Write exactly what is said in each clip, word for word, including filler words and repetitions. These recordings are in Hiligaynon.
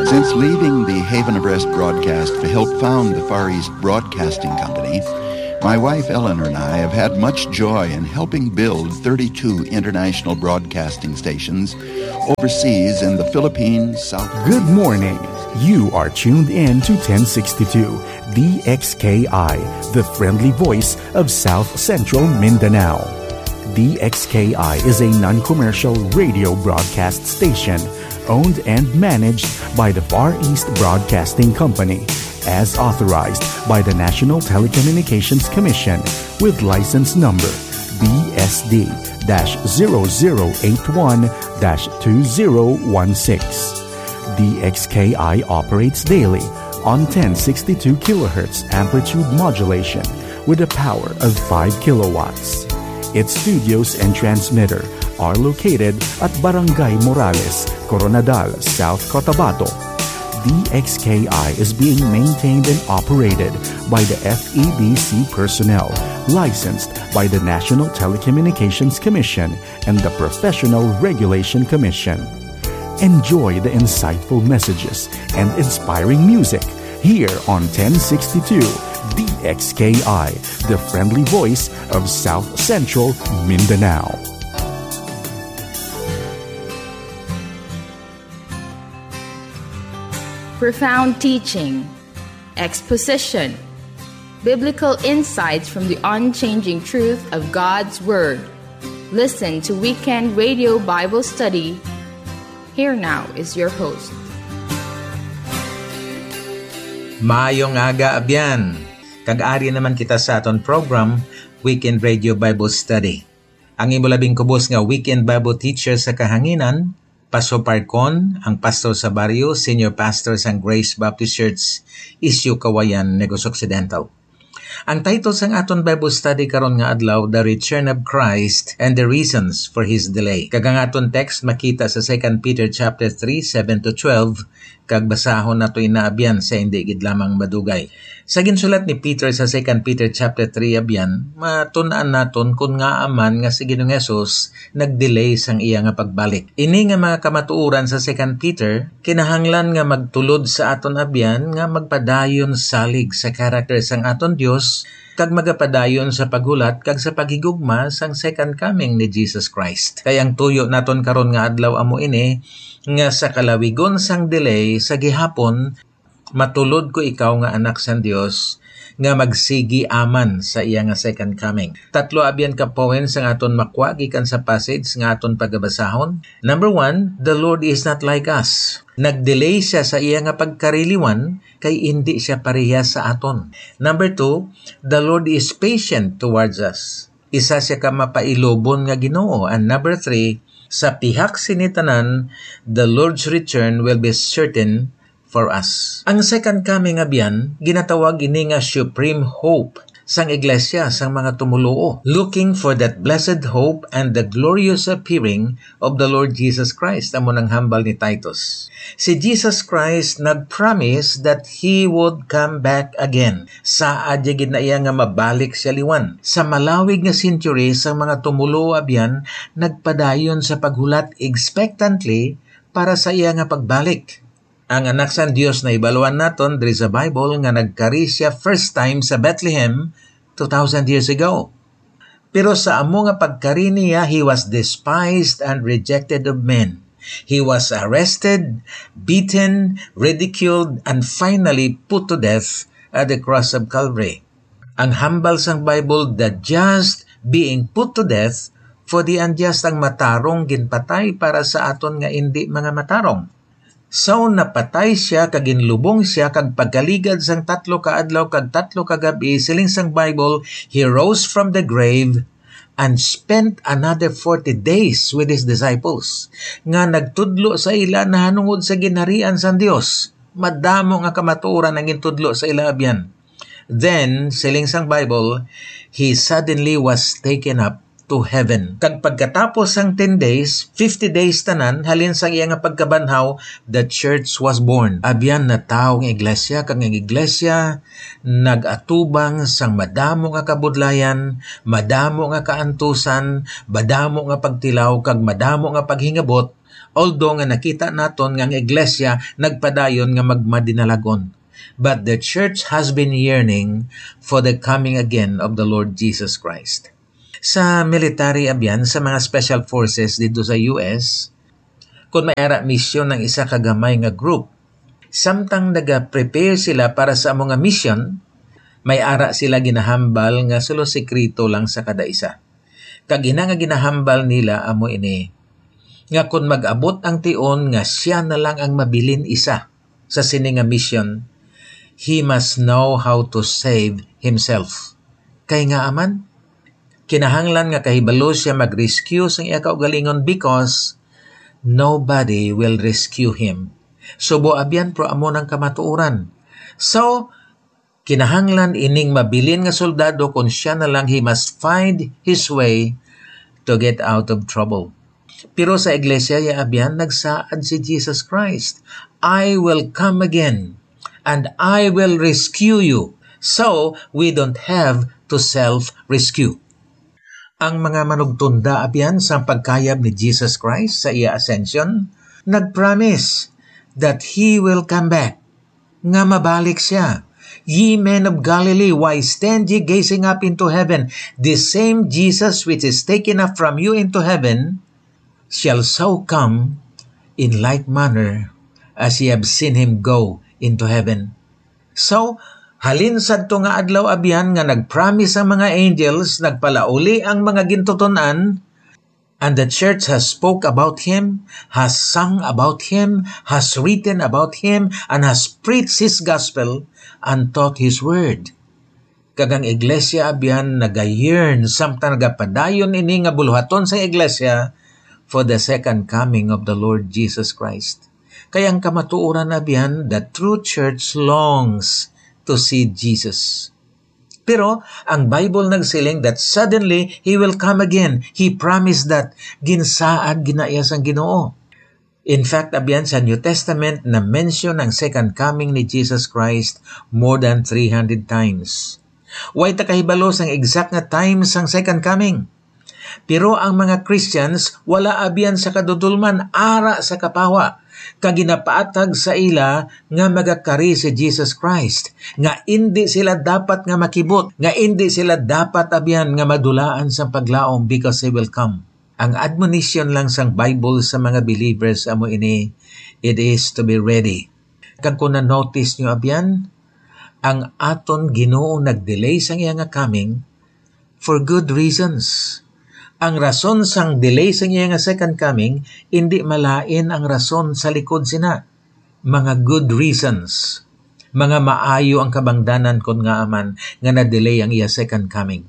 Since leaving the Haven of Rest broadcast to help found the Far East Broadcasting Company, my wife Eleanor and I have had much joy in helping build thirty-two international broadcasting stations overseas in the Philippines, South Good morning. You are tuned in to ten sixty-two D X K I, the friendly voice of South Central Mindanao. D X K I is a non-commercial radio broadcast station owned and managed by the Far East Broadcasting Company, as authorized by the National Telecommunications Commission, with license number B S D dash zero zero eight one dash two zero one six. D X K I operates daily on ten sixty-two kilohertz amplitude modulation with a power of five kilowatts. Its studios and transmitter are located at Barangay Morales, Koronadal, South Cotabato. D X K I is being maintained and operated by the F E B C personnel, licensed by the National Telecommunications Commission and the Professional Regulation Commission. Enjoy the insightful messages and inspiring music here on ten sixty-two D X K I, the friendly voice of South Central Mindanao. Profound teaching, exposition, biblical insights from the unchanging truth of God's Word. Listen to Weekend Radio Bible Study. Here now is your host. Maayong aga, abyan. Kag ari naman kita sa aton program, Weekend Radio Bible Study. Ang imo labing kubos nga Weekend Bible Teacher sa kahanginan, Pastor Parcon, ang pastor sa baryo, senior pastor sang Grace Baptist Church, Isyu Kawayan, Negros Occidental. Ang title sang aton Bible study karon nga adlaw, The Return of Christ and the Reasons for His Delay. Kag ang aton text makita sa Second Peter chapter three, seven to twelve, kag basahon nato ina, abyan, sa indi gid lamang madugay. Sa ginsulat ni Peter sa Second Peter chapter three, abyan, matun-an naton kon ngaa man nga si Ginoong Jesus nag-delay sang iya nga pagbalik. Ini nga mga kamatuoran sa Second Peter kinahanglan nga magtulod sa aton, abyan, nga magpadayon salig sa karakter sang aton Dios kag magapadayon sa paghulat kag sa paghigugma sang second coming ni Jesus Christ. Kay ang tuyo naton karon nga adlaw amo ini, nga sa kalawigon sang delay sa gihapon, matulod ko ikaw nga anak sang Dios, nga magsigi aman sa iya nga second coming. Tatlo abyan ka points ang aton makwa gikan sa passage nga aton pagabasahon. Number one, the Lord is not like us. Nagdelay siya sa iya nga pagkariliwan, kay indi siya parehas sa aton. Number two, the Lord is patient towards us. Isa siya ka mapailubon nga Ginoo. And number three, sa pihak sini tanan, the Lord's return will be certain for us. Ang second coming, abyan, ginatawag ini nga supreme hope sang iglesia, sang mga tumoluo, looking for that blessed hope and the glorious appearing of the Lord Jesus Christ, amo nang hambal ni Titus. Si Jesus Christ nag-promise that He would come back again. Saad ya gid na iya nga mabalik siya liwan. Sa malawig nga century sang mga tumoluo, abyan, nagpadayon sa paghulat expectantly para sa iya nga pagbalik. Ang Anak sang Dios, nahibaluan naton diri sa Bible nga nagkari siya first time sa Bethlehem two thousand years ago. Pero sa amo nga pagkari niya, he was despised and rejected of men. He was arrested, beaten, ridiculed, and finally put to death at the cross of Calvary. Ang hambal sang Bible, the just being put to death for the unjust, ang matarong ginpatay para sa aton nga indi mga matarong. So, napatay siya, kag ginlubong siya, kag pagkaligad sang tatlo ka adlaw kag tatlo ka gab-i, siling sang Bible, he rose from the grave and spent another forty days with his disciples, nga nagtudlo sa ila nahanungod sa ginharian sang Dios. Madamo nga kamatuoran ang gintudlo sa ila, abyan. Then, siling sang Bible, he suddenly was taken up to heaven. Kag pagkatapos sang ten days, fifty days tanan, halin sang iya nga pagkabanhaw, the church was born. Abyan, natawo ang iglesia, kag ang iglesia nag-atubang sang madamo nga kabudlayan, madamo nga kaantusan, madamo nga pagtilaw, kag madamo nga paghingabot, Although nga nakita naton nga ang iglesia nagpadayon nga magmadinalagon, but the church has been yearning for the coming again of the Lord Jesus Christ. Sa military, abyan, sa mga special forces dito sa U S, kung may ara misyon ng isa ka gamay nga group, samtang naga-prepare sila para sa amo nga misyon, may ara sila ginahambal nga sulo sikreto lang sa kada isa. Kag ina nga ginahambal nila amo ini, nga kon mag-abot ang tion nga sia na lang ang mabilin isa sa sini nga mission, he must know how to save himself. Kay nga aman, kinahanglan nga kahibalo sia mag-rescue sang iya kaugalingon, because nobody will rescue him. Subo abyan, pero amo nang kamatuoran. So, kinahanglan ining mabilin nga soldado, kung sia na lang, he must find his way to get out of trouble. Pero sa iglesia, ya abyan, nagsaad si Jesus Christ, "I will come again and I will rescue you." So, we don't have to self-rescue. Ang mga manugtunda abyan sa pagkayab ni Jesus Christ sa iya ascension, nag-promise that he will come back, nga mabalik sia. "Ye men of Galilee, why stand ye gazing up into heaven? The same Jesus which is taken up from you into heaven shall so come in like manner as ye have seen him go into heaven." So, halin sadto nga adlaw abyan nga nag-promise ang mga angels, nagpalauli ang mga gintuton-an, and the church has spoke about him, has sung about him, has written about him, and has preached his gospel, and taught his word. Kag ang iglesia abyan nagayearn, samtang nagapadayon ini nga buluhaton sa iglesia, for the second coming of the Lord Jesus Christ. Kay ang kamatuoran abyan, the true church longs to see Jesus. Pero ang Bible nagsiling that suddenly he will come again. He promised that. Ginsaad gina iya sang Ginoo. In fact, abyan, sa New Testament, na-mention ang second coming ni Jesus Christ more than three hundred times. Way ta kahibalo sang exact nga time sang second coming. Pero ang mga Christians wala abyan sa kadudolman, ara sa kapawa, kag ginapaatag sa ila nga magakari si Jesus Christ, nga indi sila dapat nga makibot, nga indi sila dapat abyan nga madulaan sang paglaom, because he will come. Ang admonition lang sang Bible sa mga believers amo ini, it is to be ready. Kag kung na-notice nyo abyan, ang aton Ginoo nag-delay sang iya nga coming for good reasons. Ang rason sang delay sang iya nga second coming, indi malain ang rason sa likod sina. Mga good reasons. Mga maayo ang kabangdanan kon ngaa man nga na-delay ang iya second coming.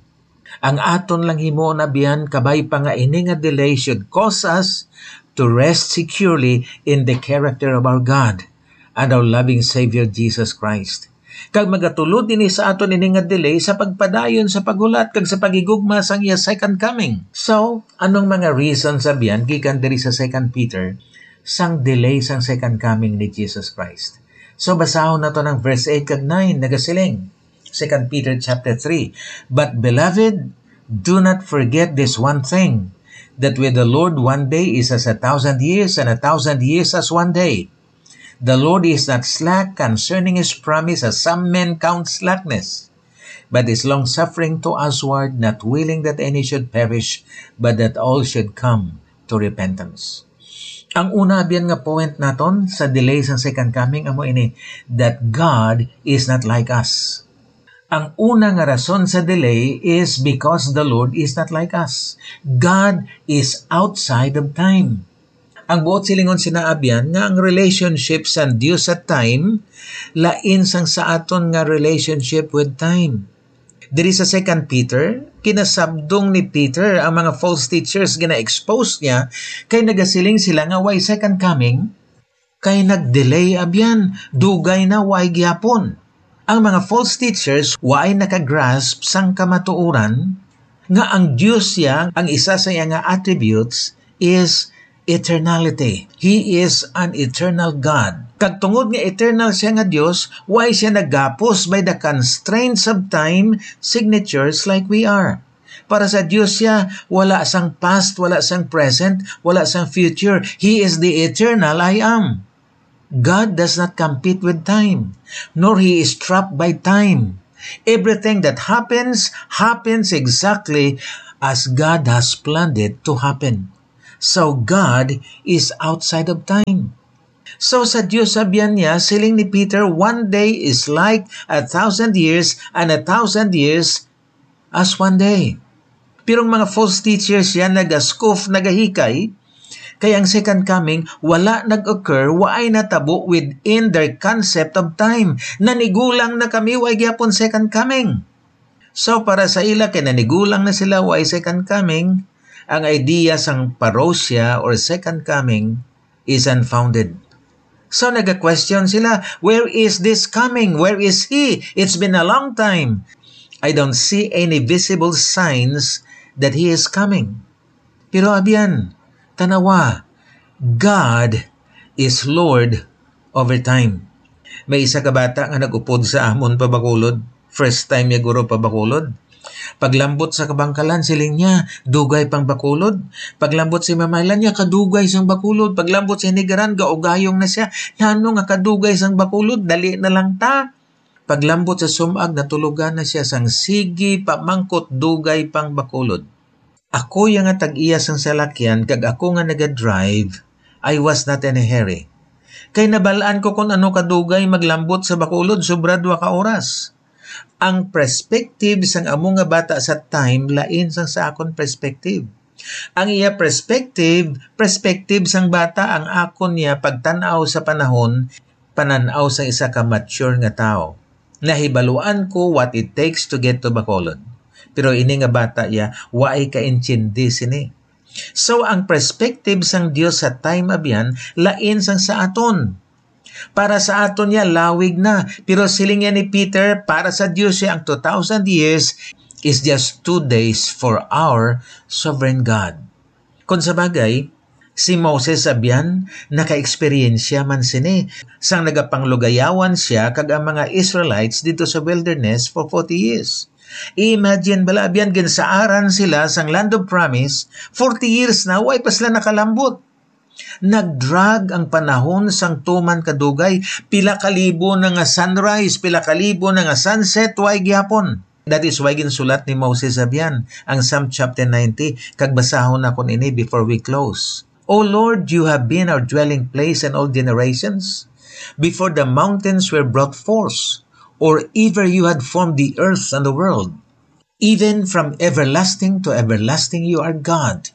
Ang aton lang himuon abyan, kabay pa, nga ini nga delay should cause us to rest securely in the character of our God and our loving Savior Jesus Christ. Kag magatulod ini sa aton ini nga delay sa pagpadayon sa paghulat kag sa paghigugma sang iya second coming. So, anong mga reasons abyan gikan diri sa Second Peter sang delay sang second coming ni Jesus Christ? So, basahon nato ang verse eight kag nine, nagasiling, Second Peter chapter three, "But beloved, do not forget this one thing, that with the Lord one day is as a thousand years, and a thousand years as one day. The Lord is not slack concerning his promise, as some men count slackness, but is long-suffering to usward, not willing that any should perish, but that all should come to repentance." Ang una abyan nga point naton sa delay sang second coming amo ini, that God is not like us. Ang una nga rason sa delay is because the Lord is not like us. God is outside of time. Ang buot silingon sina abyan nga ang relationship sang Dios sa time lain sang sa aton nga relationship with time. Diri sa Second Peter, kinasabdong ni Peter ang mga false teachers, gina-expose niya, kay nagasiling sila nga way second coming, kay nag-delay abyan, dugay na, way gyapon. Ang mga false teachers way nakagrasp sang kamatuoran nga ang Dios siya, ang isa sa iya nga attributes is eternality. He is an eternal God. Kag tungod nga eternal siya nga Dios, way siya nagapos by the constraints of time signatures like we are. Para sa Dios siya, wala sang past, wala sang present, wala sang future. He is the eternal I am. God does not compete with time, nor he is trapped by time. Everything that happens, happens exactly as God has planned it to happen. So God is outside of time. So sa Dios, sabihan niya, siling ni Peter, "One day is like a thousand years, and a thousand years as one day." Pero ang mga false teachers yan naga-scoff, nagahikay, kay ang second coming wala nag-occur, waay natabo within their concept of time. Nanigulang na kami, way gyapon second coming. So para sa ila, kay nanigulang na sila, way second coming, ang idea sang parousia or second coming is unfounded. So naga-question sila, "Where is this coming? Where is he? It's been a long time. I don't see any visible signs that he is coming." Pero abyan, tanawa, God is Lord over time. May isa ka bata nga nag-upod sa amon pa Bacolod. First time niya guro pa Bacolod. Paglambot sa kabangkalan, siling niya, "Dugay pang Bacolod." Paglambot sa Mamaylan niya, "Kadugay sang Bacolod." Paglambot sa Hinigaran, gaugayong na siya, "Nano nga kadugay sang Bacolod? Dali na lang ta." Paglambot sa Sumag, natulogan na siya sang, "Sige, pamangkot, dugay pang Bacolod." Ako ya nga tag-iya sang salakyan kag ako nga naga-drive, I was not in a hurry. Kay nabal-an ko kon ano kadugay maglambot sa Bacolod, sobra dua ka oras. Ang perspective sang amo nga bata sa time lain sang sa akon perspective. Ang iya perspective, perspective sang bata, ang akon niya pagtan-aw sa panahon, panan-aw sang isa ka mature nga tawo. Nahibaluan ko what it takes to get to Bacolod. Pero ini nga bata ya, waay kaintindi sini. So, ang perspective sang Dios sa time, abyan, lain sang sa aton. Para sa aton niya, lawig na. Pero siling niya ni Peter, para sa Dios siya ang two thousand years is just two days for our sovereign God. Kung sa bagay, si Moses, abyan, naka-eksperyensya man sini sang nagapanglugayawan siya kag ang mga Israelites dito sa wilderness for forty years. Imagine bala, abyan, ginsaaran sila sang land of promise, forty years na, way pa sila nakalambot. Nagdrag ang panahon sang tuman kadugay, pila ka libo na nga sunrise, pila ka libo na nga sunset, way gyapon. That is why ginsulat ni Moses, abyan, ang Psalm chapter ninety, kag basahon nakon ini before we close. "O Lord, you have been our dwelling place in all generations, before the mountains were brought forth, or ever you had formed the earth and the world. Even from everlasting to everlasting you are God.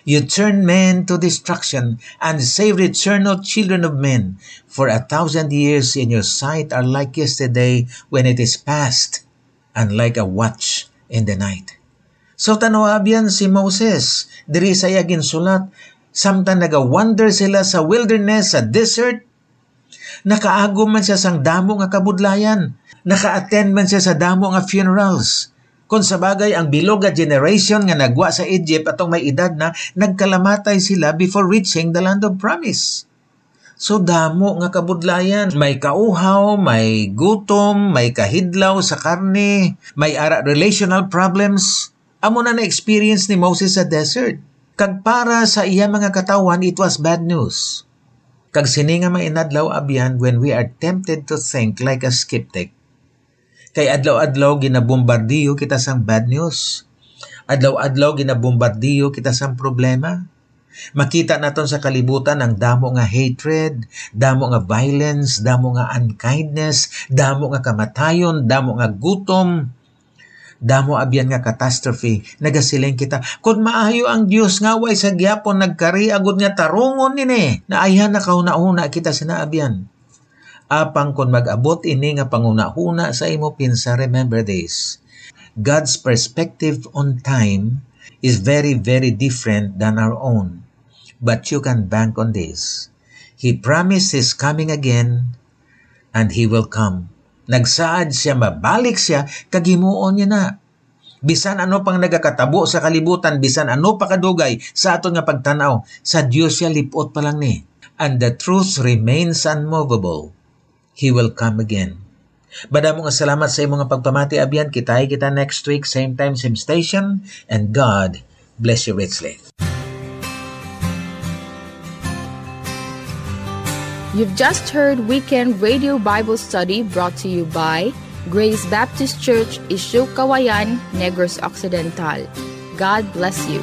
You turn men to destruction and save the eternal children of men. For a thousand years in your sight are like yesterday when it is past, and like a watch in the night." So, tan-awa, abyan, si Moses, diri sa iya ginsulat, samtang nagawander sila sa wilderness, sa desert, nakaagom man siya sang damo nga kabudlayan. Naka-attend man siya sa damo nga funerals. Kung sa bagay, ang bilog nga generation nga nagwa sa Egypt atong may edad na, nagkalamatay sila before reaching the land of promise. So, damo nga kabudlayan. May kauhaw, may gutom, may kahidlaw sa karne, may ara relational problems. Amo na na-experience ni Moses sa desert. Kag para sa iya mga katawhan, it was bad news. Kag sini nga mga inadlaw, abyan, when we are tempted to think like a skeptic, kay adlaw-adlaw ginabombardiyo kita sang bad news. Adlaw-adlaw ginabombardiyo kita sang problema. Makita naton sa kalibutan ang damo nga hatred, damo nga violence, damo nga unkindness, damo nga kamatayon, damo nga gutom, damo abyan nga catastrophe. Nagasiling kita, "Kon maayo ang Dios, nga way sa gyapon nagkari agud nga tarungon ini?" Naayhan na kahunahuna kita sina abyan. Apang kon mag-abot ini nga panghunahuna sa imo, pinsa, remember this. God's perspective on time is very, very different than our own. But you can bank on this. He promised His coming again, and He will come. Nagsaad siya, mabalik siya, kag himuon niya na. Bisan ano pang nagakatabo sa kalibutan, bisan ano pa kadugay sa aton nga pagtan-aw, sa Dios siya lip-ot pa lang ni. And the truth remains unmovable. He will come again. Madamo nga salamat sa imong pagpamati, abyan. Kitay kita next week, same time, same station. And God bless you richly. You've just heard Weekend Radio Bible Study brought to you by Grace Baptist Church, Isyo Kawayan, Negros Occidental. God bless you.